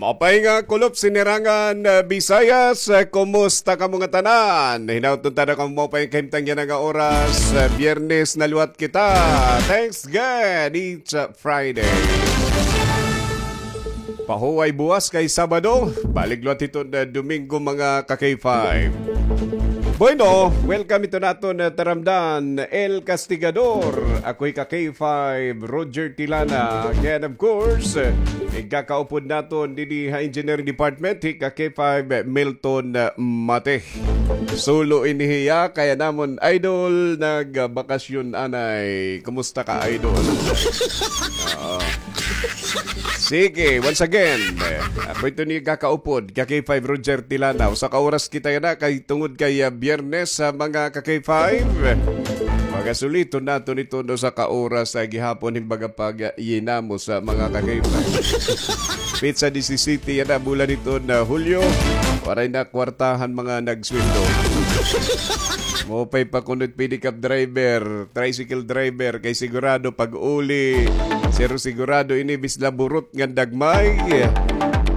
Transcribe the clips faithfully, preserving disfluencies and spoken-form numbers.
Apay nga kulop sinirangan, ah, Bisayas, ah, kumusta kamo ngatanan? Hinaot unta na kamo maupay nga kahimtang yana nga oras, ah, Biyernes na liwat kita. Thanks God, it's, ah, Friday. Pahuway buwas kay Sabado, balik liwat hiton, ah, Domingo, mga ka-K five. Bueno, welcome hiton aton, ah, taramdan, El Castigador. Ako hi ka-K five, Roger Tilana. Kay, of course, eh, igkakaupod naton didi ha Engineering Department, hi ka-K five, Milton, ah, Mate. Sulo ini hiya, kay an amon idol nagbakasyon anay. Kumusta ka, idol? Oo. Sige, once again, eh, ako ito ni kakaupod, ka-K five Roger Tilana. Usa ka oras kita yana, kay tungod kay, ah, Biyernes, sa mga ka-K five. Pagasuliton naton ito, no, sa ka oras sa gihapon, himbaga pag, ah, yinamo sa mga ka-K five. Petsa disisete yana, bulan hiton, ah, Hulyo. Waray na kwartahan mga nagsweldo. Maupay pa kuno it pedicab driver, tricycle driver, kay sigurado pag-uli, pero sigurado ini bis laburot ngan dagmay.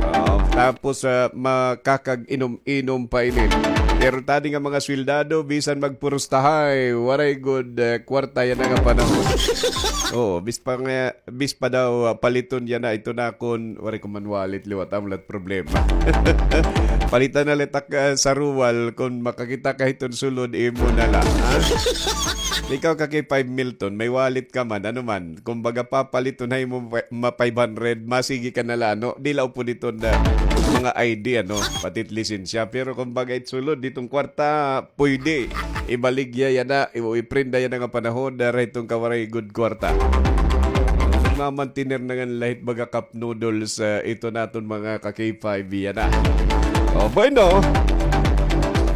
Ah, tapos, ah, makakag-inom-inom pa ini. Pero tadi nga mga sweldado, bisan magpurustahay, waray gud, eh, kwarta yana nga panahon. Oo, bis pa nga, bis pa daw, ah, paliton yana, ito na kon, waray ko man wallet, liwat, amo la it problema. Palitan na la it ak, ah, saruwal, kon makakita ka hiton sulod, imo na la, ha? Ikaw ka-K five Milton, may wallet ka man, ano man, kumbaga papaliton ha imo ma-, ma five hundred, masigi ka na la, ano? Di la upod hiton na mga I D, ano, pati it lisensya. Pero kumbaga it sulod, hiton kwarta, pwede. Ibaligya yana, i-, o iprenda yana nga panahon, dara hiton kawaray gud kwarta. Mamantener na ngan la hit baga cup noodles, ah, ito naton mga ka-K five yana. O, bueno.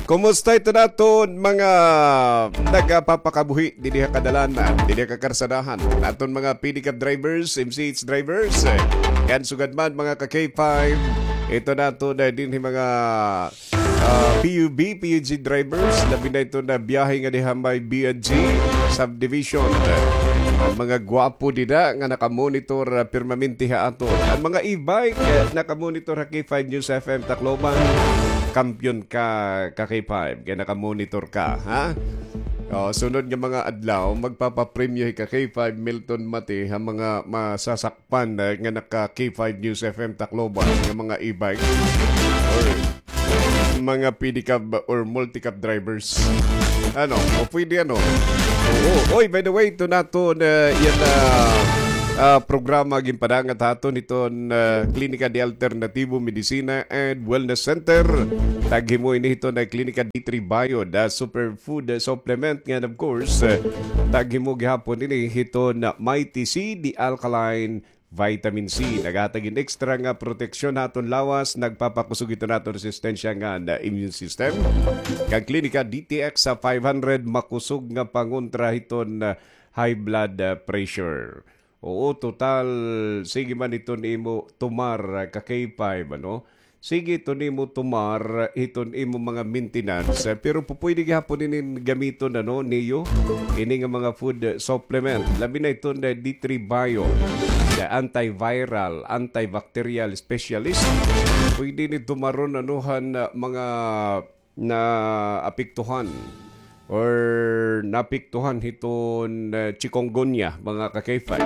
Kumusta ito naton mga nagapapakabuhi didi ha kadalanan, didi ha kakarsadahan? Naton mga pedicab drivers, M C H drivers, eh, kan sugad man mga ka-K five, ito naton, eh, dinhi mga ah, P U B, P U G drivers, labi na ito na biyahe nga diha may B N G subdivision. An mga gwapo dida nga nakamonitor, ah, permanente ha aton. An mga e-bike, eh, nakamonitor ha K five News F M Tacloban. Kampiyon ka, ka K five, kay nakamonitor ka, ha? O, sunod nga mga adlaw, magpapapremyo hi ka K five Milton Mati ha mga masasak pan, eh, nga naka K five News F M Tacloban nga mga e-bike or mga pedicab or multicab drivers. Ano? O pwede, ano? Oo. Oy, by the way, ito naton, eh, yana, ah, programa ginpadangat ha aton hiton, eh, Klinika de Alternativo Medicina and Wellness Center. Taghimo ini hiton Klinika D three Bio, the super food, eh, supplement. Ngan, of course, eh, taghimo gihapon ini hiton Mighty C, the alkaline vitamin C. Naghatag hin extra nga proteksyon ha aton lawas, nagpapakusog hiton aton resistensya ngan immune system. Kan Klinika D T X sa five hundred, makusog nga pangontra hiton, ah, high blood, ah, pressure. Oo, total, sige man hiton imo tumar, ah, ka K five, ano? Sige, ito nimo tumar, iton imo mga maintenance, eh, pero pupwede gihapon inin gamiton, ano, niyo, ini nga mga food, eh, supplement. Labi na iton, eh, D three Bio, the antiviral, antibacterial specialist. Pwede ni tumaron, ano, han, ah, mga naapektuhan or naapektuhan hiton, eh, chikungunya, mga ka-K five.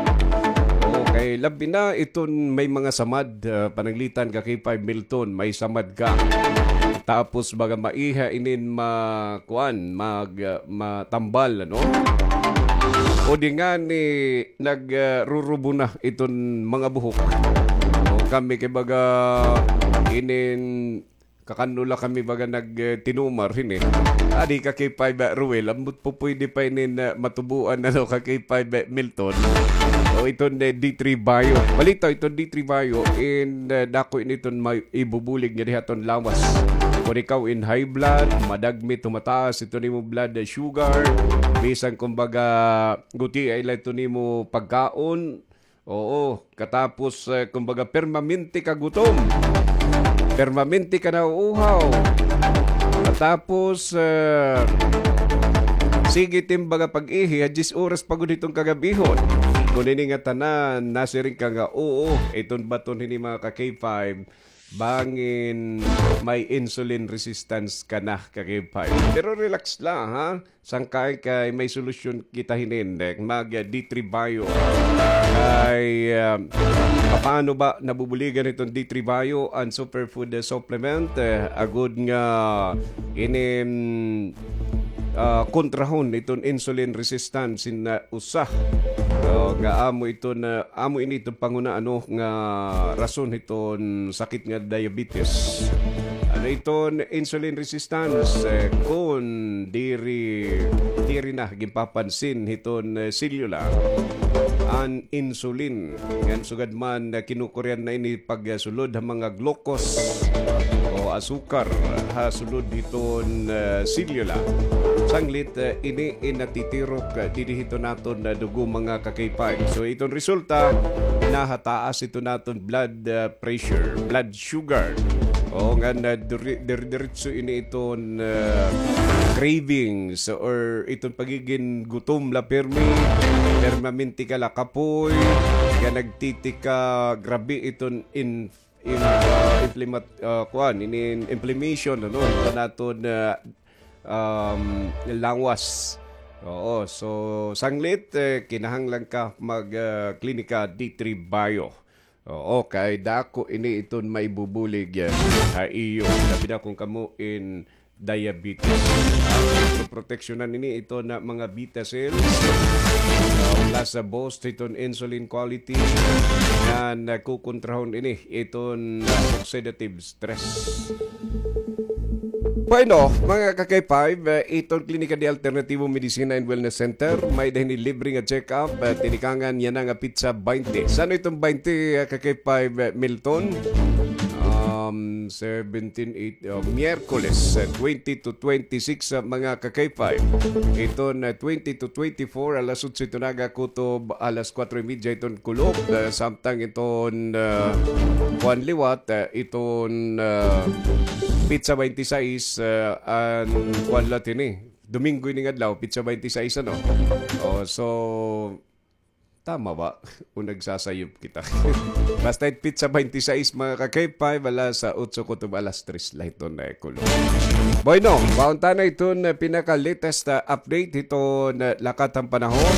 Oo, kay labi na iton may mga samad, eh, pananglitan ka K five Milton, may samad ka. Tapos baga maiha inin ma-, kuan, mag, eh, matambal, ano? O di ngani nag, eh, rurubo na iton mga buhok. O, kami kay baga inin kakan-o la kami baga nag, eh, tinumar hini. Adi ka K five, ah, Ruel, ambot pupwede pa inin, ah, matubuan, ano, ka K five, ah, Milton. O iton, eh, D three Bio. Balitaw, iton D three Bio, in, eh, dako ini iton may ibubulig nga diha iton lawas. Kon ikaw in high blood, madagmit, tumataas iton imo blood, eh, sugar, bisan kumbaga, guti ay la iton imo pagkaon, Oo, katapos, eh, kumbaga, permanente ka gutom. Permanente ka nauuhaw. Katapos, eh, sige, timbaga pag-ihi, ha diyes oras pa gud hiton kagab-ihon. Kon ini nga tanan, nasiring ka nga, oo, iton baton hini mga ka K five, Bangin may insulin resistance ka na, ka-K five. Pero relax la, ha? Sangkay kay may solusyon kita hinin, eh, mag, eh, D three Bio. Kay, ah, paano ba nabubuligan iton D three Bio, an superfood, eh, supplement, eh, agod nga ini, mm, ah, kontrahon iton insulin resistance hin, ah, usa, ah, nga amo iton, ah, amo ini iton panghunahuna nga rason hiton sakit nga diabetes. Ano iton insulin resistance, eh, kon diri, diri na ginpapansin hiton, eh, selula an insulin. Ngan sugad man, ah, kinukurian na ini pagsulod ha mga glucose o asukar ha sulod hiton, ah, selula. Sanglit, ah, ini in natitirok, ah, didi hiton aton, ah, dugo, mga ka-K five. So, iton resulta, nahataas iton aton blood, ah, pressure, blood sugar. O, ngan, ah, diri-, diri-, diretso ini iton, ah, cravings or iton pagigin gutom la pirmi, permanente ka la kapoy, nga nagtitika, grabe iton in-, in-, ah, inflamat-, ah, kuan, ini inflammation, ano, iton aton, ah, um, lawas. Oo, so, sanglit, eh, kinahanglan ka mag, ah, klinika D three Bio. Oo, kay dako ini iton maibubulig, eh, ha iyo. Labi na kon kamo in diabetes. Ah, so proteksyonan ini iton mga beta cells. Ah, plus sa boost iton insulin quality. Nga nagkukontrahon ini iton, ah, oxidative stress. Bueno, mga ka-K five, eh, iton Klinika de Alternativo Medicina and Wellness Center, may-ada hini libre nga check-up, eh, tinikangan yana nga petsa baynte. San-o iton baynte, eh, ka-K five, eh, Milton? Um, seventeen, eight, oh, Miyerkules, eh, twenty to twenty-six, eh, mga ka-K five. Iton, eh, twenty to twenty-four, alas otso iton aga kutob alas kuwatro y medya iton kulob, eh, samtang iton, eh, kuan liwat, eh, iton, eh, petsa baynte sais, eh, an kuan liwat ini. Domingo ini nga adlaw, petsa baynte sais, ano? Oh, so, tama ba? O nagsasayop kita? Basta it petsa baynte sais, mga ka-K five, alas otso kutob alas tres la iton, eh, kulob. Bueno, baon ta na iton, eh, pinaka-latest, ah, update hiton, eh, lakat han panahon.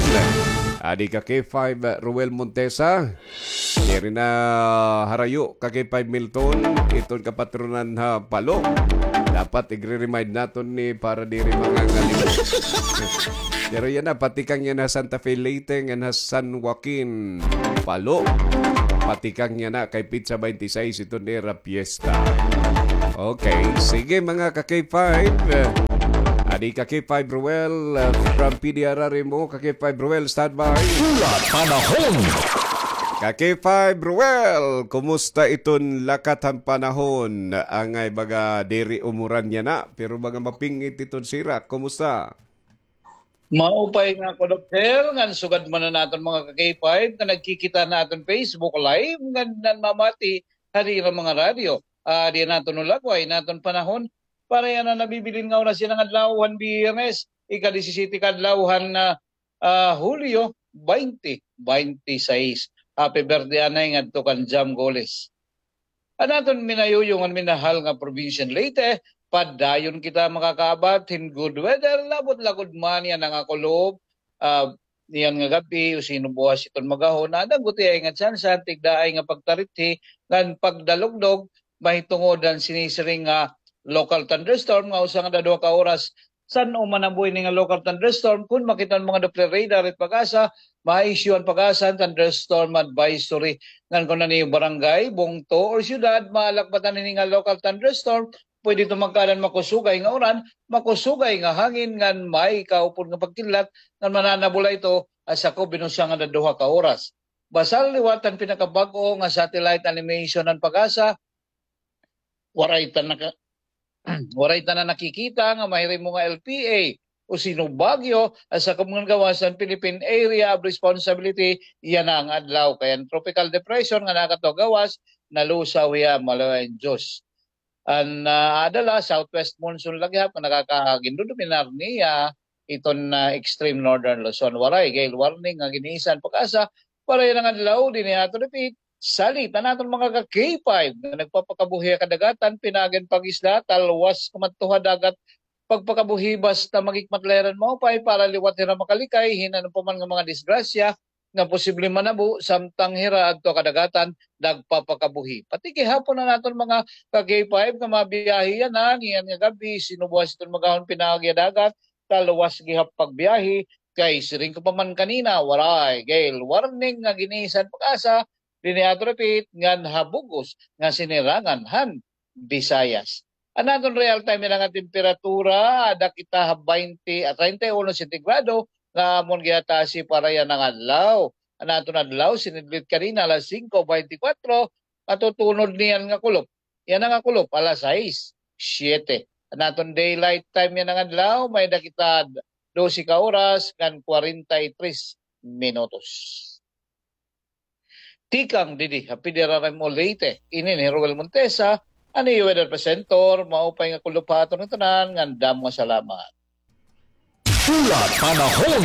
Adi ka-K five, eh, Ruel Montesa. Diri na harayo ka-K five Milton, iton kapatronan ha Palo. Dapat igre-remind naton ni para diri mangangalimot. Pero yana, patikang yana ha Santa Fe, Leyte, ngan ha San Joaquin, Palo. Patikang yana kay petsa baynte sais iton ira piyesta. Okay, sige, mga ka-K five. Adi ka-K five Ruel, uh, from P D R R M O, ka-K five Ruel, standby. Hulat panahon. Ka-K five Ruel, kumusta iton lakat han panahon? Angay baga diri umuran yana, pero baga maping-it iton sirak. Kumusta? Maupay nga ako, Doc Sel, ngan sugad man an aton mga ka-K five nga nagkikita ha aton Facebook Live, ngan nanmamati ha ira mga radyo. Ah, di naton ulagway an aton panahon para yana nabibilin nga oras yana nga adlaw han Biyernes, ika-disisyete ka adlaw han, ah, ah, Hulyo, baynte baynte sais. Happy birthday anay ngadto kan Jam Goles. An aton minayuyo ngan minahal nga probinsya han Leyte, padayon kita makakaabat hin good weather, labot la gud man yana nga kulob, ah, yana nga gab-i, o sino buwas iton magahon, nadanggotiay nga tsansa han tigdaay nga pagtarithi ngan pagdalugdog, mahitungod han sinisiring nga local thunderstorm nga usa nga duha ka oras. San-o man nabuhi ini nga local thunderstorm, kon makita an mga Doppler radar it PAGASA, ma-issue an PAGASA hin thunderstorm advisory. Ngan kon an iyo barangay, bungto, or syudad, maalakbatan ini nga local thunderstorm, pwede ito magkaada hin makusugay nga uran, makusugay nga hangin, ngan may kaupod nga pagkidlat, ngan mananabo la ito ha sakob hin usa nga duha ka oras. Basta liwat an pinakabag-o nga satellite animation han PAGASA, waray ta naka-, waray ta na nakikita nga mahirimo nga L P A o sino bagyo ha sakob ngan gawas han Philippine Area of Responsibility yana nga adlaw. Kay an tropical depression nga nakadto ha gawas, nalusaw hiya, malaway an Diyos. An, ah, aada la, southwest monsoon la gihap nga nakakagindudominar niya iton, ah, extreme northern Luzon. Waray gale warning nga gin-iisa han PAGASA para yana nga adlaw dinhi ha aton dapit Salit an aton mga ka-K five nga nagpapakabuhi ha kadagatan, pinaagi han pag-isda, talwas kamadto ha dagat, pagpakabuhi basta maghikmat la hira hin maupay para liwat hira makalikay hin ano pa man nga mga disgrasya nga posible manabo samtang hira adto ha kadagatan nagpapakabuhi. Pati gihapon an aton mga ka-K five nga mabiyahe yana, niyan nga gab-i, sinubuhan hiton mag-ahon pinaagi ha dagat, talwas gihap pagbiyahe, kay siring ko pa man kanina, waray gale warning nga ginisan PAGASA dinhi ha aton dapit ngan ha bug-os nga sinirangan han Visayas. An aton real time yana nga temperatura, ada kita ha baynte, ah, treinta y uno sentigrado, nga amon gihatasi para yana nga adlaw. An aton adlaw, sinidlit kanina, alas singko baynte kwatro, matutunod niyan nga kulop. Yana nga kulop, alas sais, siyete. An aton daylight time yana nga adlaw, may-ada kita dose ka oras ngan kwarenta y tres minutos. Tikang didi ha P D R R M O Leyte, ini hi Roel Montesa, an iyo weather presenter, maupay nga kulop ha aton ngatanan, ngan damo nga salamat. Pula Panahon.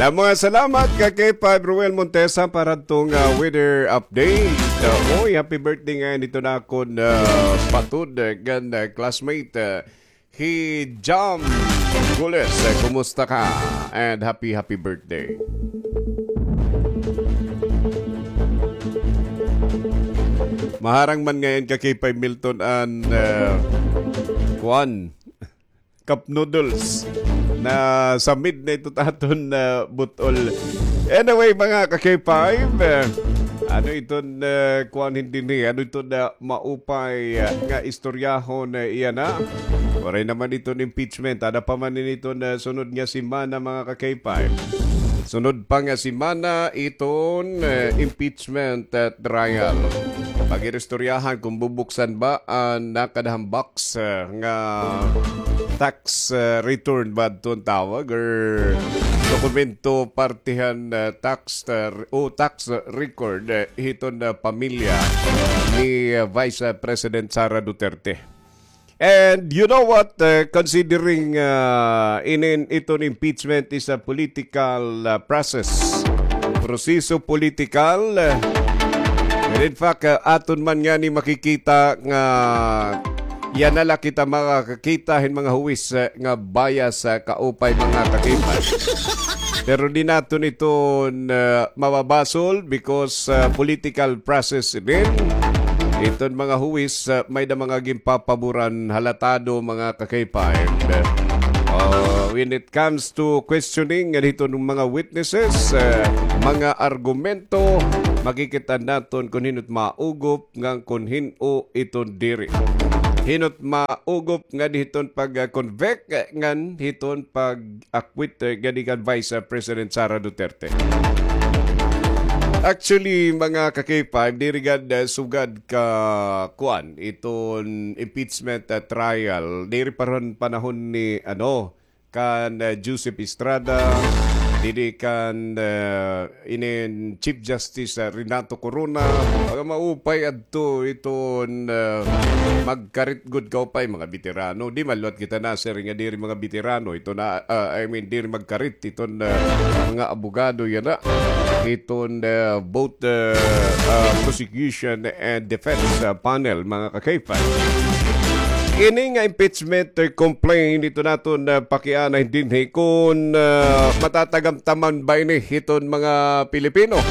Damo nga salamat, ka-K five Roel Montesa, para hadto nga weather update. Uh, oy, happy birthday ngay-an hito an akon, uh, patod, uh, ngan, uh, classmate, uh, hi Jam Gules. Uh, kumusta ka? And happy, happy birthday. Maharang man ngay-an, ka-K five Milton, an, uh, kuan, cup noodles na sa mid na ito aton, ah, but-ol. Anyway, mga ka-K five, eh, ano iton, eh, kuan, hindi ni, ano iton, ah, maupay, ah, nga istoryahon, eh, yana? Waray naman iton impeachment. Ada pa man ini iton, ah, sunod nga semana, mga ka-K five. Sunod pa nga semana iton, eh, impeachment, eh, trial. Pag-iristoryahan kung bubuksan ba an nakadahambak sa nga tax, uh, return ba adton tawag or dokumento parte han, uh, tax, uh, o tax record, uh, hiton, uh, pamilya ni, uh, Vice, uh, President Sara Duterte. And you know what, uh, considering, uh, inin iton impeachment is a political, uh, process, proseso politikal, uh, and in fact, uh, aton man ngani makikita nga yana la kita makakakita hin mga huwis, eh, nga bias, eh, kaupay, mga ka-K five. Pero di naton iton, eh, mababasol because, eh, political process din. Iton mga huwis, eh, may-ada mga ginpapaboran, halatado, mga ka-K five. Uh, when it comes to questioning ngan hiton mga witnesses, eh, mga argumento, makikita naton kon hin-o it maugop ngan kon hin-o iton diri. Hin-o it maugop ngan hiton pag-convict ngan hiton pag-acquit, eh, ngadi kan Vice, eh, President Sara Duterte. Actually, mga ka-K five, diri gad, eh, sugad ka kuan iton impeachment, eh, trial. Diri pa ron panahon ni, ano, kan, eh, Joseph Estrada, didi kan, eh, inin Chief Justice, eh, Renato Corona. Mga maupay adto iton, eh, magkarit gud kaupay, mga beterano. Di man liwat kita nasiring nga diri mga beterano. Ito na, ah, I mean, diri magkarit iton, eh, mga abogado yana. Iton, eh, both, eh, ah, prosecution and defense, ah, panel, mga ka-K five. Ini nga impeachment, eh, complaint, ito naton, eh, pakianay dinhi kon, eh, matatagamtaman ba ini hiton mga Pilipino.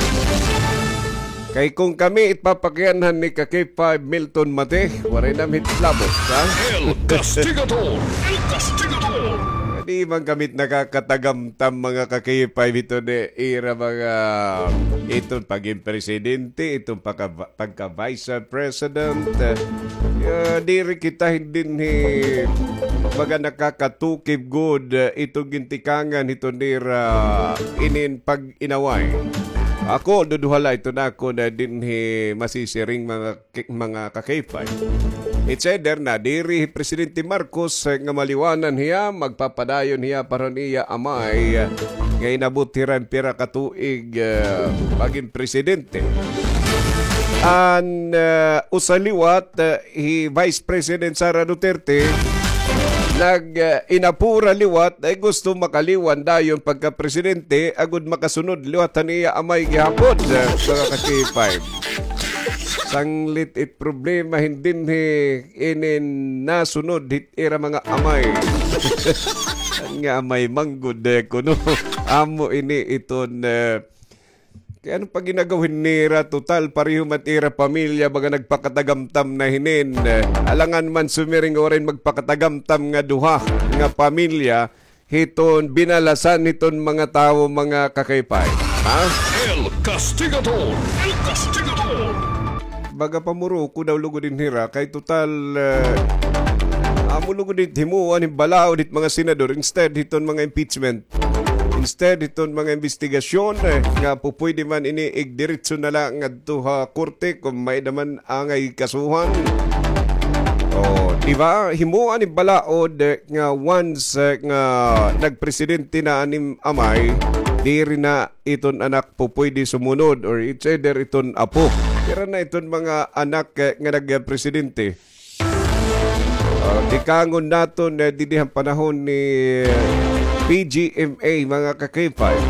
Kay kon kami it papakianhan ni ka-K five Milton Mate, waray nam hit labot, ha? El Castigador! El Castigador! Di man kami it nakakatagamtam, mga ka-K five, hiton ira mga, iton pagin presidente, iton pagka pagka-Vice President. Eh, diri kita dinhi baga nakakatukib gud, eh, iton gintikangan hiton nira inin pag-inaway. Ako, duduha la iton akon dinhi masisiring, mga ki-, mga ka-K five. It's either nadiri hi Presidente Marcos, eh, nga maliwanan hiya, magpapadayon hiya para han iya amay, eh, nga inabot hira hin pira ka tuig, eh, pagin presidente. An, eh, usa liwat, eh, hi Vice President Sara Duterte, nag, ah, inapura liwat, ay gusto makaliwan dayon pagka-presidente, agod makasunod liwat han iya amay gihapon, ah, mga ka-K five. Sanglit it problema hin dinhi inin nasunod hit ira mga amay. Nga amay manggod, eh, kuno. Amo ini iton, eh, kay ano pa ginagawin nira, total, pareho man ira pamilya, baga nagpakatagamtam na hinin. Eh, alangan man sumiring waray magpakatagamtam nga duha nga pamilya, hiton binalasan hiton mga tawo, mga ka-K five. Ha? El Castigador! El Castigador! Baga pamuroko daw lugod hin hira, kay total, eh, amo lugod it himuan hin balaod hit mga senador instead hiton mga impeachment. Instead hiton mga imbestigasyon, eh, nga pupuyde man ini igdiretso na la ngadto ha korte kon may-ada man angay kasuhan. Oh, di ba? Himuan hin balaod, eh, nga once, eh, nga nagpresidente na an im amay, diri na iton anak pupuyde sumunod, or it's either iton apo. Pira na iton mga anak, eh, nga nagpresidente? Ah, tikangon naton, eh, didi han panahon ni, eh, P G M A, mga ka-K five.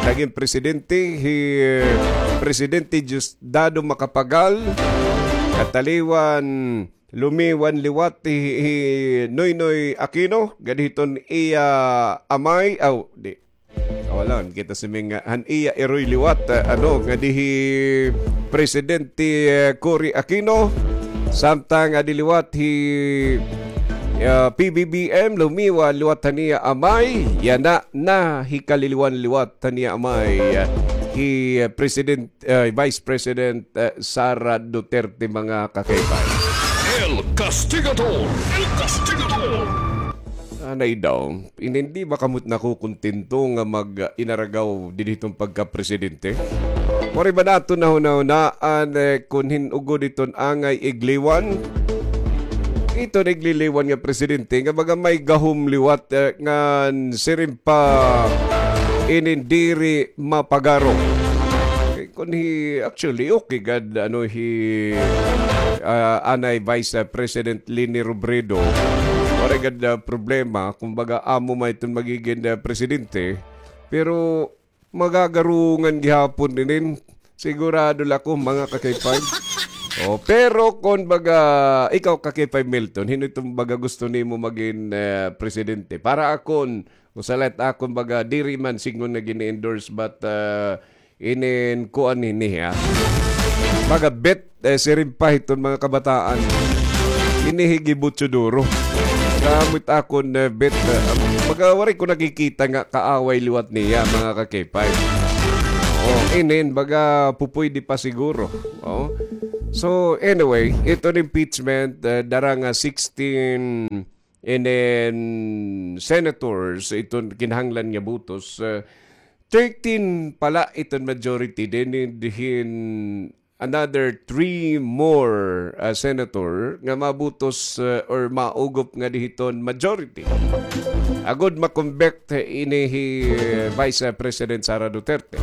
Nagin presidente hi, eh, Presidente Diosdado Macapagal, kataliwan lumiwan liwat hi, hi Noynoy Aquino, ngadi hiton iya amay, aw, di. Kawalan kita si Ming, ah, han iya iroy liwat, ah, ano, ngadi hi Presidente, eh, Cory Aquino, samtang ngadi liwat hi, ah, P B B M, lumiwan liwat han iya amay, yana na hikaliliwan liwat han iya amay, ah, hi, ah, President eh, Vice President, eh, Sara Duterte, mga ka-K five. El Castigador! El Castigador! Anay daw, inin di ba kamo nakukontento nga mag-, ah, inaragaw didi hiton pagkapresidente? Waray ba naton nahunahunaan, eh, kon hin-o gud iton angay igliwan? Iton igliliwan nga presidente nga baga may gahom liwat, eh, ngan siring pa inin diri mapagaro. Kay kon hi, actually, okay gad, ano, hi, ah, anay Vice, ah, President Leni Robredo. Waray gad, ah, problema. Kumbaga, amo man iton magigin, ah, presidente. Pero magagarungan gihapon inin. Sigurado la ako, mga ka-K five. Oh, pero kon baga, ikaw ka-K five Milton, hin-o iton baga gusto nimo magin, ah, presidente? Para akon, usa la it akon baga, diri man sidngon nga gini-endorse, but, ah, inin kuan hini, ha? Baga bet, eh, siring pa hiton mga kabataan. Ini hi Gibutso Duro. Gamit akon, eh, bet, eh, baga waray ko nakikita nga kaaway liwat niya, mga ka-K five. Oh, inin, baga pupuyde pa siguro. Oh. So, anyway, iton impeachment, eh, dara nga sixteen and then senators, iton kinahanglan nga botos, eh, thirteen pa la iton majority, then hin another three more, ah, senator nga mabotos, ah, or maugop ngadi hiton majority. Agod ma-convict ini hi, eh, Vice, ah, President Sara Duterte.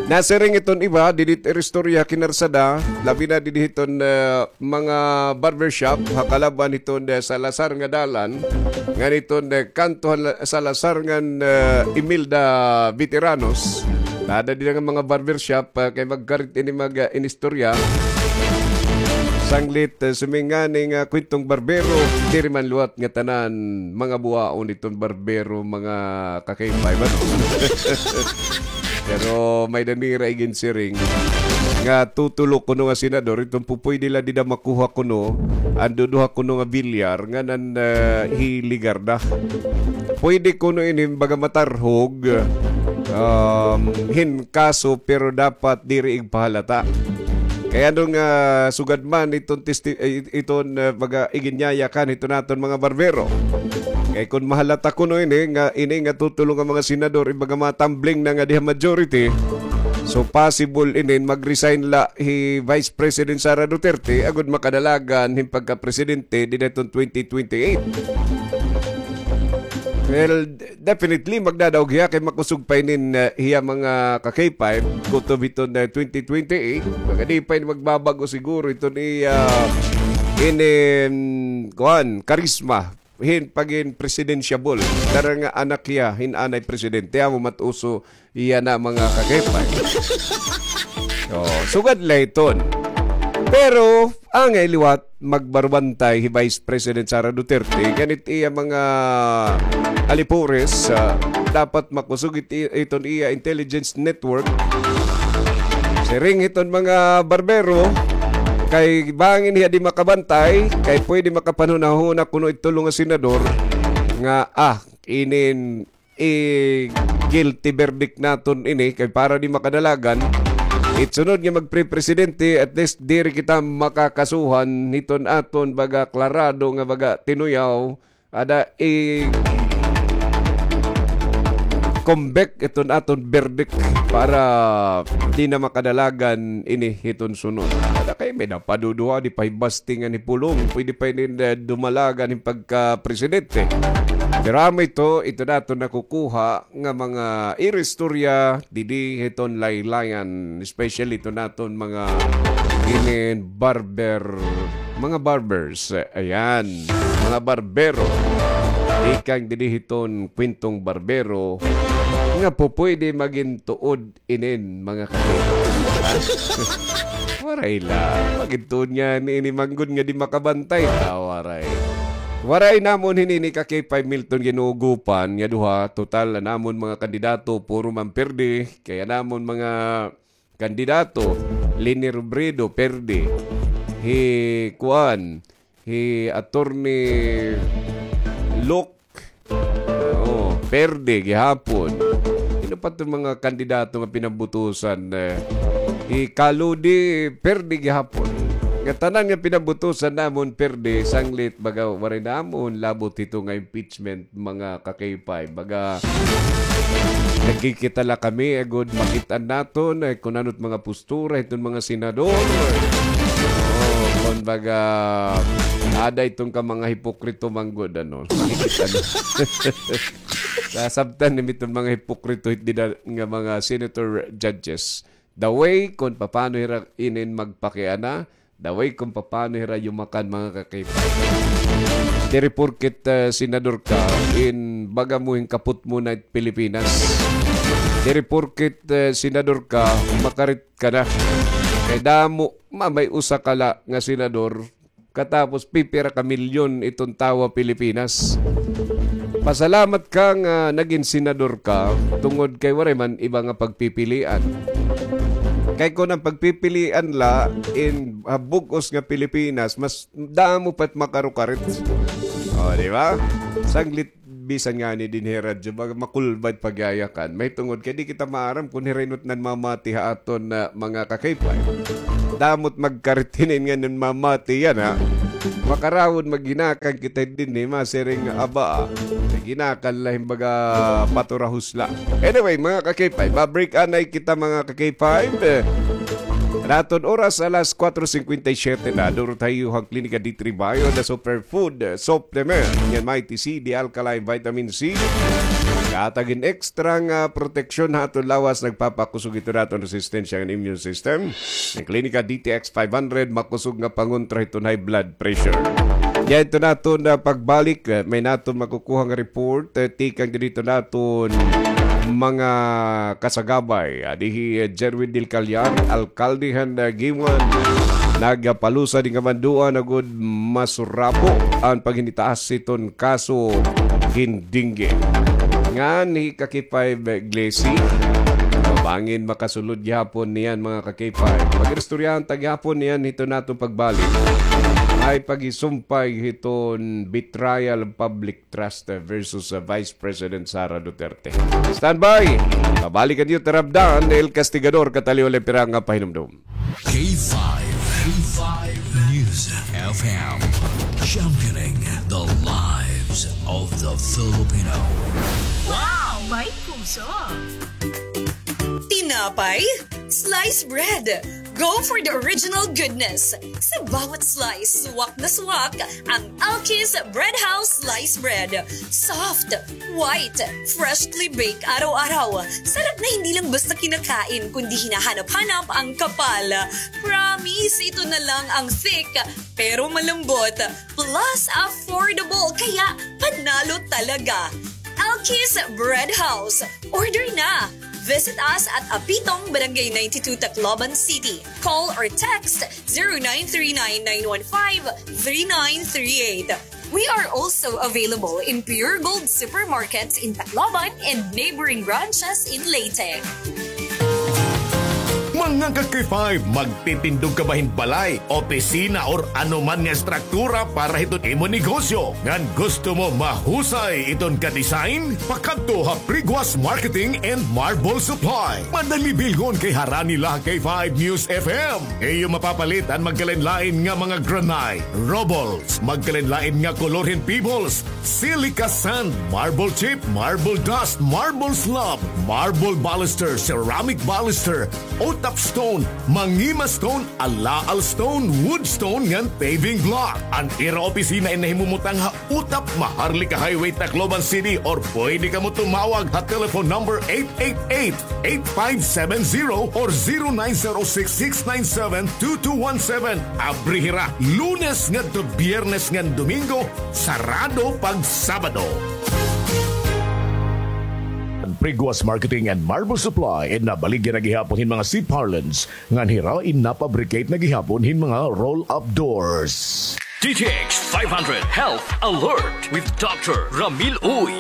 Nasiring iton iba, didi it ira istorya ha Kinarsada, labi na didi hiton, ah, mga barbershop, ha kalab-an hiton, ah, Salazar nga dalan, ngan hiton, ah, kanto ha La-, Salazar ngan, ah, Imelda Veteranos. Nada dida nga mga barbershop, ah, kay magkarit ini mag, ah, inistorya. Sanglit, ah, sumingani nga kwentong barbero, diri man liwat nga tanan mga buwaon iton barbero, mga ka-K five, ano? Pero may-ada nira iginsiring nga tutulo kuno nga senador, iton pupuyde la dida makuha kuno an duduha kuno nga bilyar ngan an, ah, hi Legarda. Puyde kuno ini baga matarhog, um, hin kaso, pero dapat diri igpahalata. Kay ano nga sugad man iton testi-, eh, iton, ah, baga iginyayakan hiton aton mga barbero. Kay kon mahalata kuno ini nga, ini nga tutulo nga mga senador, ibaga matambling na nga diha majority, so possible inin mag-resign la hi Vice President Sara Duterte agud makadalagan hin pagka-presidente dida hiton twenty twenty-eight. Well, definitely, magdadaog hiya kay makusog pa inin, ah, hiya mga ka-K five, kutob hiton, ah, twenty twenty-eight. Baga di pa ini magbabag-o siguro hiton iya, inin, kuan, karisma. hin pagin presidentiable. Dara nga anak hiya hin anay presidente, amo mat-uso yana, mga kakaypay. Oh, sugad la iton. Pero angay liwat magbarbantay hi Vice President Sara Duterte ngan it iya mga alipores, ah, dapat makusog it, iton iya intelligence network. Siring hiton mga barbero, kay bangin hiya di makabantay, kay pwede makapanhunahuna kuno it tulo nga senador nga, ah, inin i-guilty verdict naton ini, kay para di makadalagan it sunod nga magpre-presidente, at least diri kita makakasuhan hiton aton baga klarado nga baga tinuyaw, ada i-convict iton aton verdict para di na makadalagan ini hiton sunod. Ada kay may napaduduha, di pa hibastingan hi pulong, pwede pa ini dumalagan hin pagka-presidente. Pero amo ito, ito naton nakukuha nga mga iristorya didi hiton laylayan, especially ito naton mga inin barber, mga barbers, ayan, mga barbero. Tikang didi hiton kwentong barbero nga pupwede magin tuod inin, mga katuod. Waray la. Magin tuod nga ini manggod nga di makabantay. Ah, waray. Waray namon hini ni ka K five Milton Ginugupan nga duha. Total, an amon mga kandidato, puro man perde. Kay an amon mga kandidato, Leni Robredo, perde. Hi, kuan, hi Attorney Luke, oh, perde gihapon. Sino pa iton mga kandidato nga pinabutusan, eh? Hi Kaludi, perde gihapon. Nga tanan nga pinabutusan namon, perde, sanglit, baga, waray namon labot hito nga impeachment, mga ka-K five. Baga, nagkikita la kami, agod makit-an naton, eh, kun ano it mga postura hiton mga senador. Oh, kun baga, ada iton ka mga hipokrito manggod, ano. Makikita na. Sasabtan nimo iton mga hipokrito, hit dida nga mga senator judges. The way kun paano hira inin magpakiana, the way kun paano hira yumakan, mga ka-K five. Diri porket, eh, senador ka, in baga mo hin kapot mo na it Pilipinas. Diri porket, eh, senador ka, makarit ka na. Kay damo, ma-, may usa ka la nga senador, katapos pipira ka milyon iton tawo ha Pilipinas. Pasalamat ka nga nagin senador ka, tungod kay waray man iba nga pagpipilian. Kay kun an pagpipilian la in, ah, bug-os nga Pilipinas, mas damo pa it makarukarit. O, di ba? Sanglit bisan ngani dinhi ha radyo, baga makulba it pagyayakan. Mahitungod kay di kita maaram kun hira ino it nanmamati ha aton, ah, mga ka-K five. Damo it magkarit hinin nga nanmamati yana. Makarawod maghinakan kita dinhi, masiring nga aba, ah. Maghinakan la hin baga paturahos la. Anyway, mga ka-K five, ma-break anay kita, mga ka-K five. An aton oras alas kuwatro singkwenta y siyete na, duro tayo han Klinika D three Bio, the super food, eh, supplement. Ngan Mighty C, the alkaline vitamin C. Kahatag hin extra nga proteksyon ha aton lawas, nagpapakusog hito han aton resistensya ngan immune system. An Klinika D T X five hundred, makusog nga pangontra hiton high blood pressure. Yana iton aton, ah, pagbalik, eh, may naton makukuha nga report, eh, tikang didto naton mga kasagabay. Adi hi, eh, Jerwin Del Callar, alkalde han, ah, Guiuan. Nagpalusad hin kamanduan agod masurapo an paghinitaas hiton kaso hin dengue. Ngan hi ka-K five Glessy, bangin makasulod gihapon niyan, mga ka-K five. Pag-iristoryahan ta gihapon niyan hiton aton pagbalik. Ay pagisumpay hiton betrayal of public trust versus, uh, Vice President Sara Duterte. Standby! Pabalik an iyo tarabdan, El Castigador, kataliw la pirang nga pahinumdom. K five, K five News F M, championing the lives of the Filipino. Wow! May puso! Tinapay, sliced bread, Go for the original goodness. Sa bawat slice, suwak na suwak ang Alki's Bread House Slice Bread. Soft, white, freshly baked araw-araw. Sarap na hindi lang basta kinakain, kundi hinahanap-hanap ang kapal. Promise, ito na lang ang thick, pero malambot. Plus, affordable. Kaya, panalo talaga. Alki's Bread House. Order na! Visit us at Apitong, Barangay ninety-two, Tacloban City. Call or text zero nine three nine nine one five three nine three eight. We are also available in Pure Gold supermarkets in Tacloban and neighboring branches in Leyte. Mga ka-K five, magtitindog ka ba hin balay, opisina, or ano man nga estruktura para hiton imo negosyo? Ngan gusto mo mahusay iton ka-design? Pakadto ha Priguas Marketing and Marble Supply. Madali bilhon kay harani la ha K five News F M. Iyo mapapalit an magkalain-lain nga mga granite, rubbles, magkalain-lain nga kolor hin pebbles, silica sand, marble chip, marble dust, marble slab, marble baluster, ceramic baluster, otap stone, mangima stone, alaal stone, wood stone, ngan paving block. An ira opisina in nahimumutang ha Utap, Maharlika Highway, Tacloban City, or pwede kamo tumawag ha telephone number eight eight eight, eight five seven zero or zero nine zero six, six nine seven, two two one seven. Abri hira Lunes ngadto Biyernes ngan Domingo, sarado pag Sabado. An Priguas Marketing and Marble Supply in nabaligya na gihapon hin mga seat parlance ngan hira in napabricate na gihapon hin mga roll-up doors. D T X five hundred Health Alert with Doctor Ramil Uy.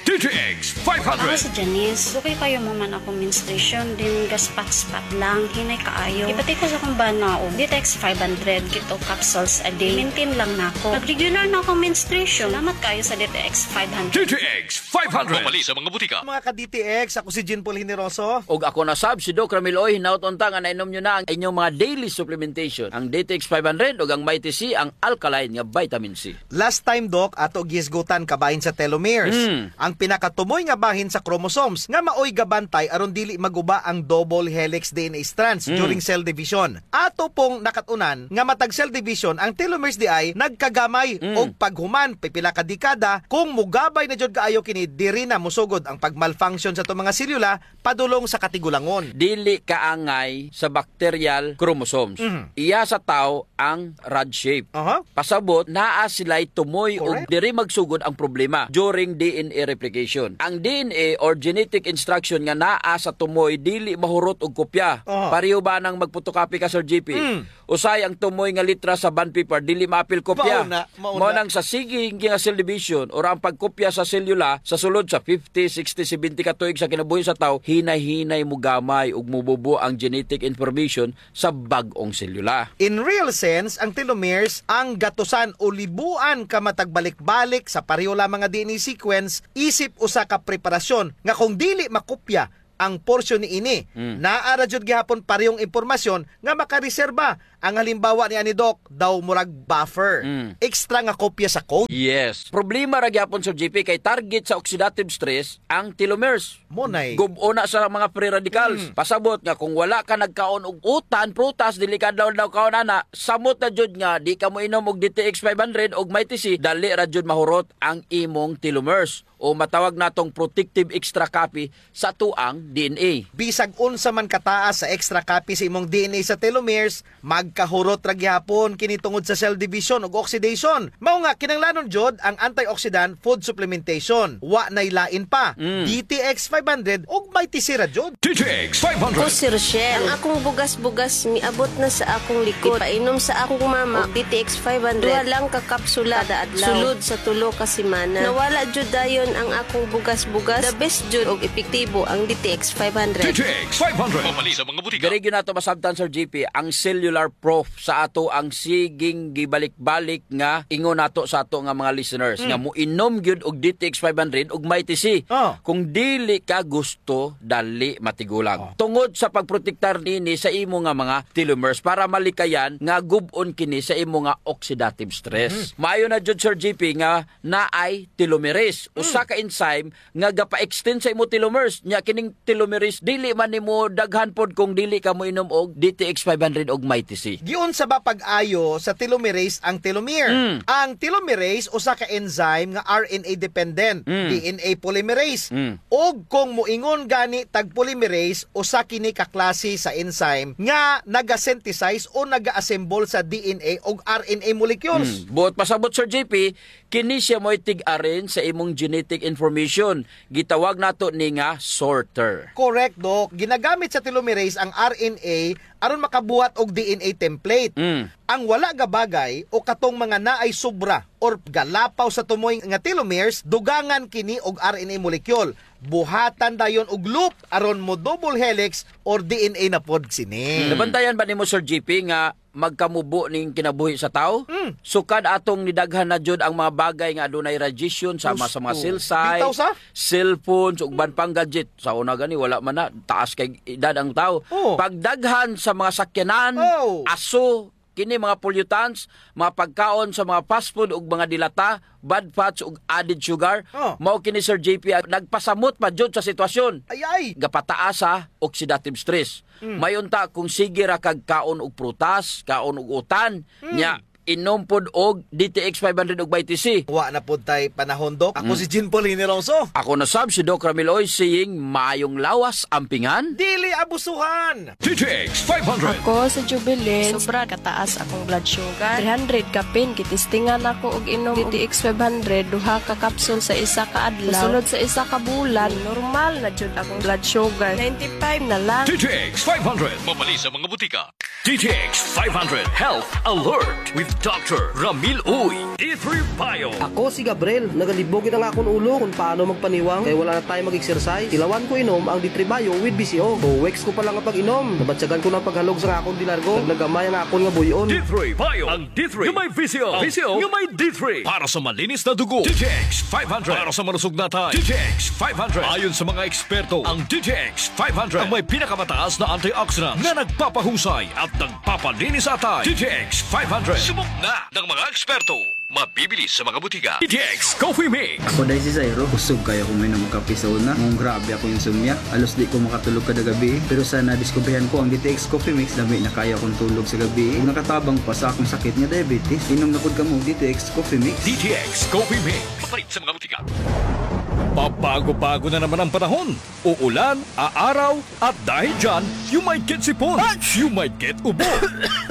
D T X five hundred. Ako si Janice. Dugay kaayo man akon menstruation, then gaspat-spat lang, hinay kaayo. Ipati ko sa akon bana og D T X five hundred, two capsules a day. Maintain lang nako. Nag-regular na akon menstruation. Salamat kaayo sa D T X five hundred. D T X five hundred. Mapalit sa mga butika. Mga ka-D T X, ako si Jean Paul Generoso. Ug ako na sab, si Doc Ramil Uy, hinaot unta nga nainom nyo na ang inyong mga daily supplementation, ang D T X five hundred ug ang Mighty C, ang alkaline nga vitamin C. Last time, Doc, ato gihisgutan kabahin sa telomeres. Mm. Ang pinakatumoy nga bahin sa chromosomes nga maoy gabantay aron dili maguba ang double helix D N A strands Mm. during cell division. Ato pong nakat-unan nga matag cell division ang telomeres diay nagkagamay Mm. og paghuman pipila ka dekada, kung mugabay na jud kaayo kini, diri na mosugod ang pag-malfunction sa ato mga selula padulong sa katigulangon. Dili kaangay sa bacterial chromosomes. Mhm. Iya sa tawo ang rod shape. Aha. Pasabot, naa sila'y tumoy ug Correct. diri magsugod ang problema during D N A replication. Ang D N A or genetic instruction nga naa sa tumoy dili mahurot og kopya. Aha. Pareho ba nang magpotocopy ka, Sir G P? Mm. Usahay ang tumoy nga letra sa bond paper, dili maapil kopya. Mao na, mao Mao na. nang sa sige nga cell division or ang pagkopya sa selula sa sulod sa fifty, sixty, seventy ka tuig sa kinabuhi sa tawo, hinay-hinay mogamay ug mobubo ang genetic information sa bag-ong selula. In real sense, ang telomeres, ang gatusan o libuan ka matagbalik-balik sa pareho lamang nga D N A sequence, isip usa ka preparasyon nga kung dili makopya ang porsyon niini, Mm. naa ra jud gihapon parehong impormasyon nga makareserba. Ang halimbawa niani, Doc, daw murag buffer. Mm. Extra nga kopya sa code. Yes. Problema ra gihapon, Sir G P, kay target sa oxidative stress ang telomeres. Mo nay. Gub-o na sa mga free radicals. Mm. Pasabot nga kung wala ka nagkaon og utan, prutas, dili ka daw daw kaon ana, samot na jud nga di ka moinom og D T X five hundred og Mighty C, dali ra jud mahurot ang imong telomeres o matawag natong protective extra copy sa atoang D N A. Bisag unsa man kataas sa extra copy sa imong D N A sa telomeres, magkahurot ra gihapon kini tungod sa cell division ug oxidation. Mao nga, kinahanglanon jud ang antioxidant food supplementation. Wa nay lain pa, Mm. D T X five hundred ug Mighty C ra jud. D T X five hundred. Ako si Rochelle. Ang akong bugas-bugas miabot na sa akong likod. Ipainom sa akong mama og D T X five hundred. Duha lang ka kapsula kada adlaw. Sulod sa tulo ka semana. Nawala jud dayon ang akong bugas-bugas. The best jud og epektibo ang D T X five hundred. D T X five hundred. Mapalit sa mga butika. Diri gyud nato masabtan, Sir G P, ang cellular proof sa atoang siging gibalik-balik nga ingon nato sa ato nga mga listeners Mm. nga moinom gyud og D T X five hundred ug Mighty C. Oh. Kung dili ka gusto, dali matigulang. Oh. Tungod sa pagprotektar nini sa imo nga mga telomeres para malikayan nga gub-on kini sa imo nga oxidative stress. Mm. Maayo na jud, Sir G P, nga naay telomerase o Mm. usa ka enzyme nga gapa-extend sa imo telomeres. Nya kining telomerase, dili man nimo daghan pod kung dili ka moinom og D T X five hundred og Mighty C. Giunsa ba pag-ayo sa telomerase ang telomere? Mm. Ang telomerase usa ka enzyme nga R N A dependent, Mm. D N A polymerase. Mm. Ug kung moingon gani tag polymerase, usa kini ka klase sa enzyme nga naga-synthesize o naga-assemble sa D N A ug R N A molecules. Mm. Buot pasabot, Sir J P, kini siya mao'y tig-arrange sa imong genetic information. Gitawag nato ni nga sorter. Correct, Doc. Ginagamit sa telomerase ang R N A aron makabuhat og D N A template. Mm. Ang wala gabagay o katong mga naay sobra or galapaw sa tumoy nga telomeres, dugangan kini og R N A molecule. Buhatan dayon og loop aron mo double helix or D N A na pod sini. Mm. Nabantayan ba nimo, Sir J P, nga magkamubo ning kinabuhi sa tawo. Mm. Sukad atong nidaghan na jud ang mga bagay nga adunay radiation, sama sa mga Sus, cell site, bitaw sa? Cellphones, ug uban pang gadget. Sa una gani, wala man na, taas kay edad ang tawo. Oh. Pagdaghan sa mga sakyanan, Oh. aso, kini mga pollutants, mga pagkaon sa mga fast food ug mga dilata, bad fats ug added sugar, Oh. mao kini, Sir J P, ang nagpasamot pa jud sa sitwasyon. Ay, ay. Gapataas sa oxidative stress. Mm. May unta kung sige ra kag kaon og prutas, kaon og utan, Mm. nya inom pod og D T X five hundred ug Mighty C. Wa na pod tay panahon, Doc. Ako Mm. si Jean Paul Hiniroso. Ako na sab si Doc Ramil Oy, saying, maayong lawas, ampingan. Dili abusuhan. D T X five hundred. Ako si Jubilin. Sobra kataas akong blood sugar. Three hundred kapin, gitistingan ako og inom D T X five hundred, duha ka capsule sa isa ka adlaw. Sulod sa isa ka bulan, normal na jud akong blood sugar. Ninety-five na lang. D T X five hundred. Mabali sa mga butika. D T X five hundred Health Alert with Doctor Ramil Uy. D three Bio. Ako si Gabriel. Nagalibog gid ang akon ulo kung paano magpaniwang kay wala na tayo mag-exercise. Tilawan ko inom ang D three Bio with B C O. Two weeks ko pa lang nga pag-inom, nabatyagan ko na ang paghalog sa akon delargo. Nagnagamay ang akon nga buy-on. D three Bio. Ang D three nga may V C O. Ang V C O nga may D three. Para sa malinis na dugo, D T X five hundred. Para sa malusog na atay, D T X five hundred. Ayon sa mga eksperto, ang D T X five hundred ang may pinakamataas na antioxidant na nagpapahusay at nagpapalinis sa atay. D T X five hundred. Subok na ng mga eksperto. Mabibili sa mga butika. D T X Coffee Mix. Ako diay si Zairo. Kusog kaayo ako moinom og kape sa una. Nganong grabe akong insomnia. Halos di ko makatulog kada gabii. Pero sa nadiskubrihan ko ang D T X Coffee Mix, lami na kaayo akong tulog sa gabii. Ug nakatabang pa sa akong sakit nga diabetes. Inom na pod kamo og D T X Coffee Mix. D T X Coffee Mix. Mapalit sa mga butika. Pabago-bago na naman ang panahon. Uulan, aaraw, at dahil dyan, you might get sipon. You might get ubo.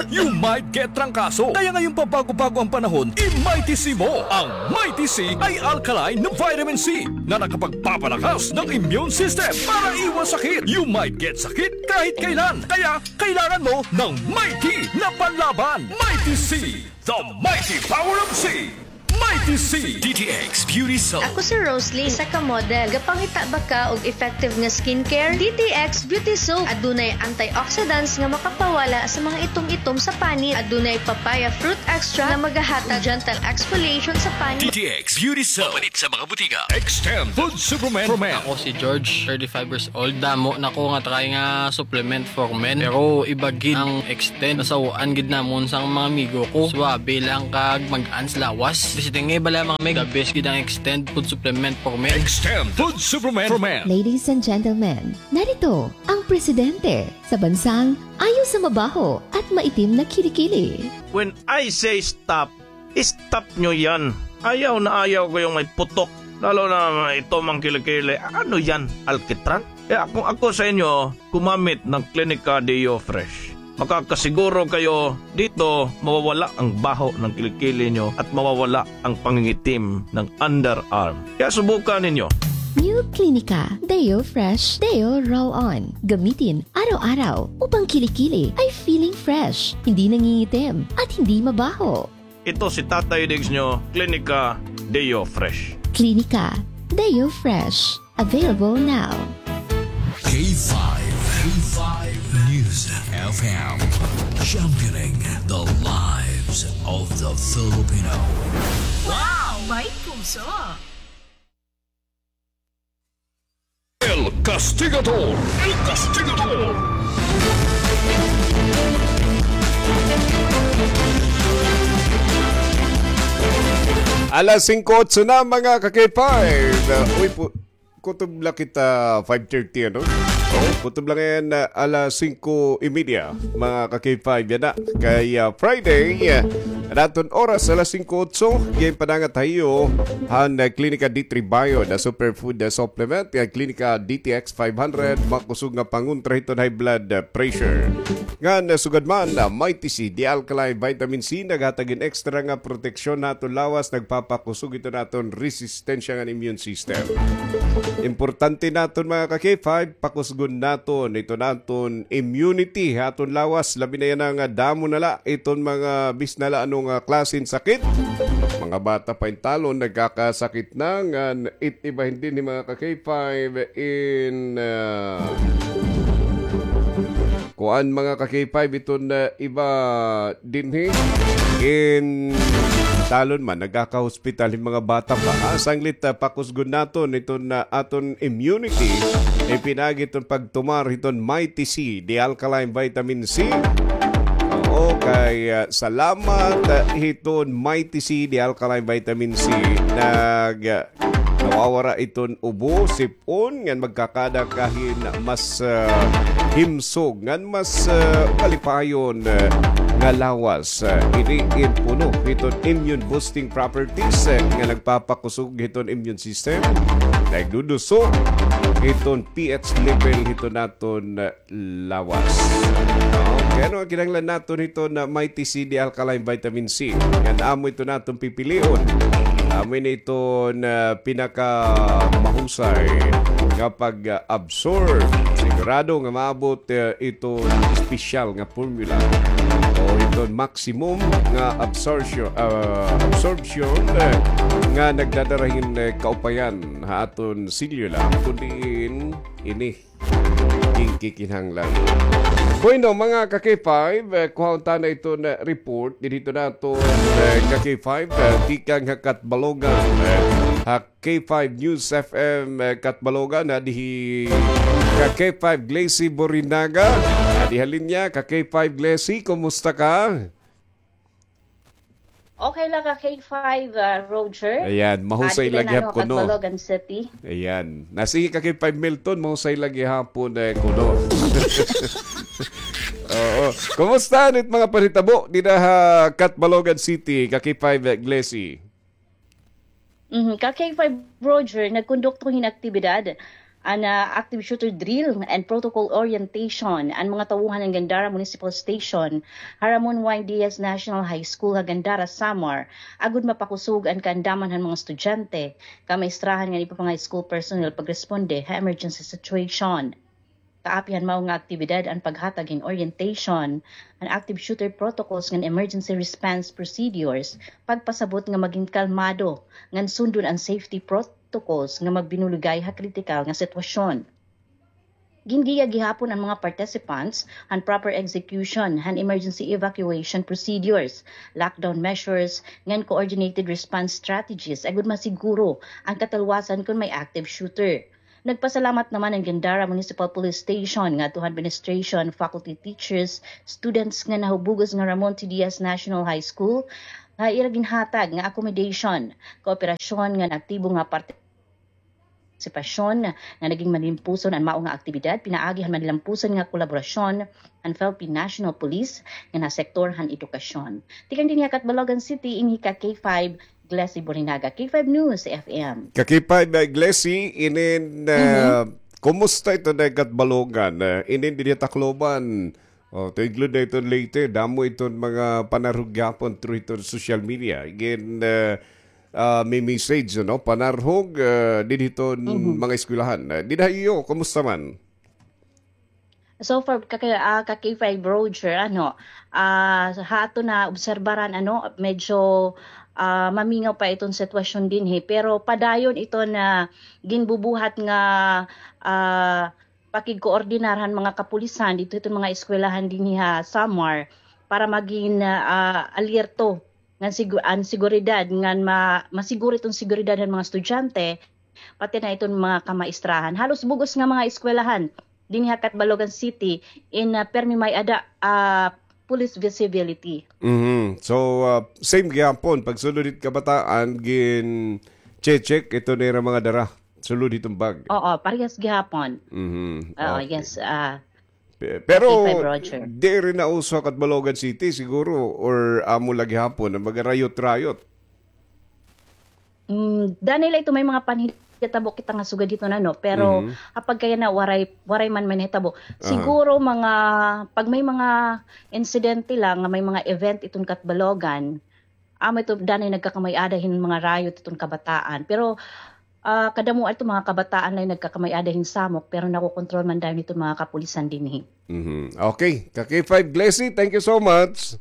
You might get trangkaso. Kaya ngayong pabago-bago ang panahon, i-Mighty C mo. Ang Mighty C ay alkaline na vitamin C na nakapagpapalakas ng immune system para iwas sakit. You might get sakit kahit kailan. Kaya kailangan mo ng Mighty na panlaban. Mighty C, the mighty power of C. Mighty C. D T X Beauty Soap. Ako si Roslyn, isa ka model. Gapangita ba ka og effective nga skincare? D T X Beauty Soap. Adunay antioxidants nga makapawala sa mga itom-itom sa panit. Adunay papaya fruit extract nga magahatag gentle exfoliation sa panit. D T X Beauty Soap. Mapalit sa mga butika. Extend Food Supplement for Men. Ako si George, thirty-five years old. Damo na ko nga try nga supplement for men. Pero iba gid ang Extend. Nasaw-an gid namon sa mga amigo ko. Suabe lang kag magaan sa lawas. Basta tingi bala mga meg, the best gid ang Extend food supplement for men. Extend food supplement for men. Ladies and gentlemen, narito ang presidente sa bansang ayaw sa mabaho at maitim na kilikili. When I say stop, stop nyo yan. Ayaw na ayaw ko yung may putok. Lalo na ito mang kilikili. Ano yan? Alkitran? Kaya kung ako sa inyo, gumamit ng Clinica Deo Fresh. Makakasiguro kayo dito mawawala ang baho ng kilikili nyo at mawawala ang pangingitim ng underarm. Kaya subukan ninyo. New Clinica Deo Fresh Deo Roll On. Gamitin araw-araw upang kilikili ay feeling fresh, hindi nangingitim, at hindi mabaho. Ito si Tatay Diggs nyo, Clinica Deo Fresh. Clinica Deo Fresh. Available now. K five, K five News F M. Championing the lives of the Filipino. Wow! May puso! El Castigador. El Castigador. Alas singko otso na, mga ka-K five. Uh, uy, pu-, kutob la kita five thirty, ano? Oh, kutob la ngay-an, uh, alas singko y media, mga ka-K five, yana. Kay, uh, Friday, uh, an aton oras, alas singko otso, ginpadangat ha iyo han, uh, Klinika D three Bio, the superfood, uh, supplement, uh, Klinika D T X five hundred, makusog nga pangontra hiton high blood, uh, pressure. Ngan, uh, sugad man, uh, Mighty C, the alkaline vitamin C, naghatag hin extra nga proteksyon ha aton lawas, nagpapakusog hiton aton resistensya ngan immune system. Importante naton, mga ka-K five, pakusgon naton hiton aton immunity ha aton lawas, labi na yana nga damo na la iton mga bisan la ano nga klase hin sakit. Mga bata pa intalon nagkakasakit na, ngan it iba dinhi, mga ka-K five, in, ah, kuan, mga ka-K five, iton, ah, iba dinhi. Intalon man, nagkakahospital hin mga bata pa. Ah, sanglit, ah, pakusgon naton iton, ah, aton immunity, ipinaagi hiton pagtumar hiton Mighty C, the alkaline vitamin C. Oo, kay, ah, salamat, ah, hiton Mighty C, the alkaline vitamin C, nag, ah, nawawara iton ubo, sip-on, ngan magkakada ka hin mas, ah, himsog, ngan mas, ah, malipayon, ah, nga lawas. Ah, ini in puno hiton immune boosting properties, ah, nga nagpapakusog hiton immune system, nagduduso hiton P H level hiton aton, ah, lawas. Okay, ano an kinahanglan naton hiton Mighty C, the alkaline vitamin C? Ngan amo iton aton pipilion. Amo ini iton, ah, pinakamahusay nga pag-absorb. Sigurado nga maabot, ah, iton espesyal nga formula o iton maximum nga absorption, ah, absorption, ah, nga nagdadara hin, ah, kaupayan ha aton selula, kun diin ini ginkikinahanglan. Bueno, mga ka-K five, eh, kuhaon ta na iton report dinhi hiton aton, eh, ka-K five, eh, tikang ha Catbalogan, eh, ha K five News F M, eh, Catbalogan, ha dihi ka-K five Glacy Borinaga, ha diha linya, ka-K five Glacy, kumusta ka? Okay la ka-K five, ah, Roger. Ayan, mahusay la gihapon kuno. Catbalogan City. Ayan. Na, sige ka-K five Milton, mahusay la gihapon, eh, kuno. Oo. Kumusta an mga panhitabo dida ha Catbalogan City, ka-K five Glacy? Mhm. Ka-K five Roger, nagkondukto hin aktibidad an, ah, active shooter drill and protocol orientation an mga tauhan han Gandara Municipal Station ha Ramon Y. Diaz National High School ha Gandara, Samar, agod mapakusog an kaandaman han mga estudyante, kamaistrahan ngan iba pa nga school personnel pagresponde ha emergency situation. Kaapin han mao nga aktibidad an paghatag hin orientation han active shooter protocols ngan emergency response procedures, pagpasabot nga magin kalmado ngan sundon an safety protocols nga magbinuligay ha kritikal nga sitwasyon. Gingiya gihapon an mga participants han proper execution han emergency evacuation procedures, lockdown measures, ngan coordinated response strategies agod masiguro an katalwasan kon may active shooter. Nagpasalamat naman an Gandara Municipal Police Station ngadto ha administration, faculty, teachers, students nga nahubugos nga Ramon T. Diaz National High School ha ira ginhatag nga accommodation, kooperasyon ngan aktibo nga partisipasyon nga naging malimpuson an mao nga aktibidad pinaagi han malimpuson nga kolaborasyon han Philippine National Police ngan ha sektor han edukasyon. Tikang dinhi ha Catbalogan City, ini hi ka-K five Glacy Borinaga, K five News F M. Ka-K five, uh, Glacy, inin, uh, kumusta iton Catbalogan? Uh, inin dinhi ha Tacloban. Oh, tuig Lunes iton Leyte, damo iton mga panarhog gihapon through iton social media. Again, uh, uh, may message, no? Panarhog, uh, dinhi iton mga eskwelahan. Uh, dinhi ha iyo, kumusta man? So far, ka-, ah, ka-K five Roger, ano, ah, ha aton naobserbaran, ano, medyo, ah, mamingaw pa iton sitwasyon dinhi. Pero padayon iton ginbubuhat nga, ah, pakigkoordinar han mga kapulisan didto hiton mga eskwelahan dinhi ha Samar para magin, ah, alerto ngan sigu-, an seguridad, ngan ma-, masiguro iton seguridad han mga estudyante, pati na iton mga kamaistrahan. Halos bug-os nga mga eskwelahan dinhi ha Catbalogan City in, ah, permi may-ada, ah, police visibility. Mhm. So, ah, same gihapon, pagsulod hit kabataan, gin-check ito nira mga dara. Sulod hiton bag. Oo, parehas gihapon. Mhm. Oo, okay. Yes, ah, Pe-, pero K five Roger. Diri na uso ha Catbalogan City siguro or amo la gihapon nga magarayot-rayot. Mm, danay la ito may mga panhitabo kita nga sugad hiton ano, pero Mhm. kapag kaya na waray, waray man may nahitabo. Aha. Siguro mga, pag may mga insidente la nga may mga event iton Catbalogan, amo ito danay nagkakamay-ada hin mga rayot iton kabataan. Pero, ah, kadamo ito mga kabataan la nagkakamay-ada hin samok, pero nakokontrol man dayon iton mga kapulisan dinhi. Mhm. Okay, ka K five Glessy, thank you so much.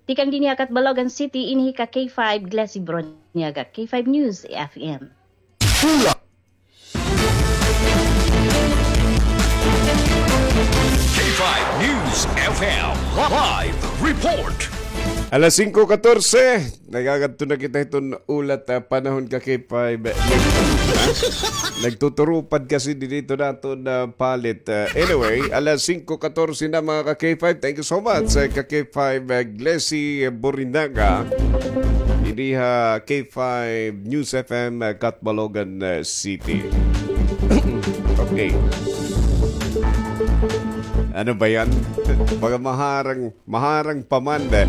Tikang dinhi ha Catbalogan City, ini hi ka K five Glessy Broniaga, K five News F M. K five News F M live report. Alas singko katorse, nagagadto na kita hiton ulat, ah, panahon ka K five. Nagtuturupad kasi dinhi iton aton, ah, palit. Ah, anyway, alas singko katorse na, mga ka K five. Thank you so much, ah, ka K five, ah, Glessy Borinaga. Dinhi ha K five News F M, ah, Catbalogan, ah, City. Okay. Ano ba yan? Mga maharang, maharang pa man, eh.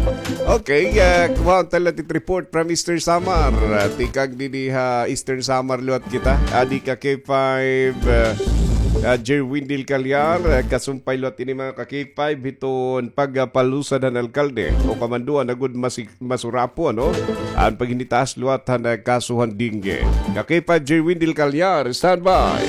Okay, ah, kuha tayo natin report from Eastern Samar. Ah, tikang dinhi ha Eastern Samar liwat kita. Adi ka K five, ah, ah, Jerwin Del Callar, ah, kasumpay liwat ini, mga ka K five, hiton pagpalusad han alkalde o kamanduan agud masig- masurapo, ano? An paghinitaas liwat han, ah, kaso han dengue. Ka K five Jerwin Del Callar, standby.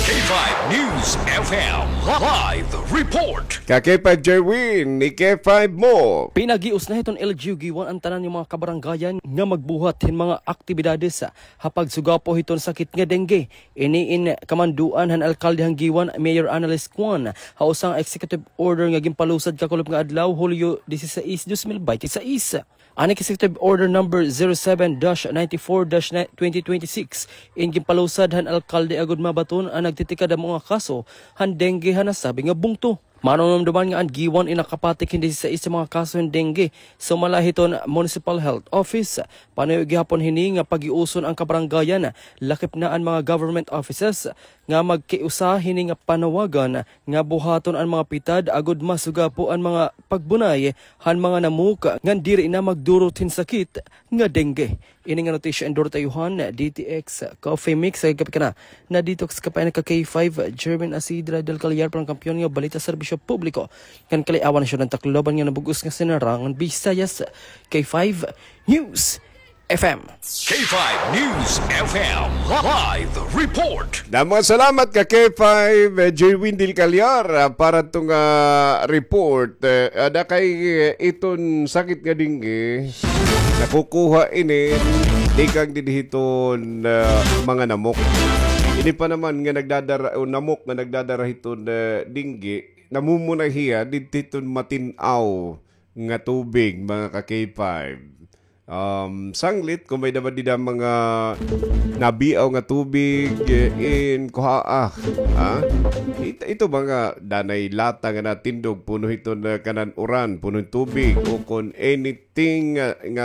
K five News F M live report. Ka K five Jerwin, ni K five mo. Pinagios na hiton L G U Guiuan an tanan nga mga kabarangayan nga magbuhat hin mga aktibidades ha pagsugapo hiton sakit nga dengue. Ini in kamanduan han alkalde han Guiuan, Mayor Annalise Cuan, ha usa nga executive order nga ginpalusad kakulop nga adlaw, Hulyo dieciséis, dos mil binte y seis. An Executive Order Number zero seven dash ninety-four dash twenty twenty-six in ginpalusad han alkalde agud mabaton an nagtitikadamo nga kaso han dengue ha nasabi nga bungto. Manunumduman nga an Guiuan in nakapatik hin dieciséis nga mga kaso hin dengue sumala hiton Municipal Health Office. Panuyo gihapon hini nga pagiuson an kabarangayan, lakip na an mga government offices, nga magkiusa hini nga panawagan nga buhaton an mga pitad agud masugapo an mga pagbunay han mga namok ngan diri na magdurot hin sakit nga dengue. Ini nga notisya endorse ta iyo han D T X Coffee Mix. Sa kapikana, na-detox ka pa ini ka K five, German Asidra del Callar, parang kampiyon nga balita, serbisyo publiko ngan kaliawan, nasyon ngan Tacloban nga nabug-os nga sinarangan Visayas. K five News F M. K five News F M live report. Damo nga salamat ka K five, eh, Jerwin Del Callar, ah, para tong, ah, report. Eh, ada kay, eh, iton sakit nga dengue, nakukuha ini tikang dinhi hiton, ah, mga namok. Ini pa naman nga nagdadara, o namok nga nagdadara hiton, ah, dengue, namumunay hiya didto hiton matin-aw nga tubig, mga ka K five. Um, sanglit, kung may-ada man dida mga nabiaw nga tubig, eh, in kuhaa, ha? It-, ito mga danay lata nga natindog, puno hiton kanan uran, puno hin tubig, o kon anything nga, nga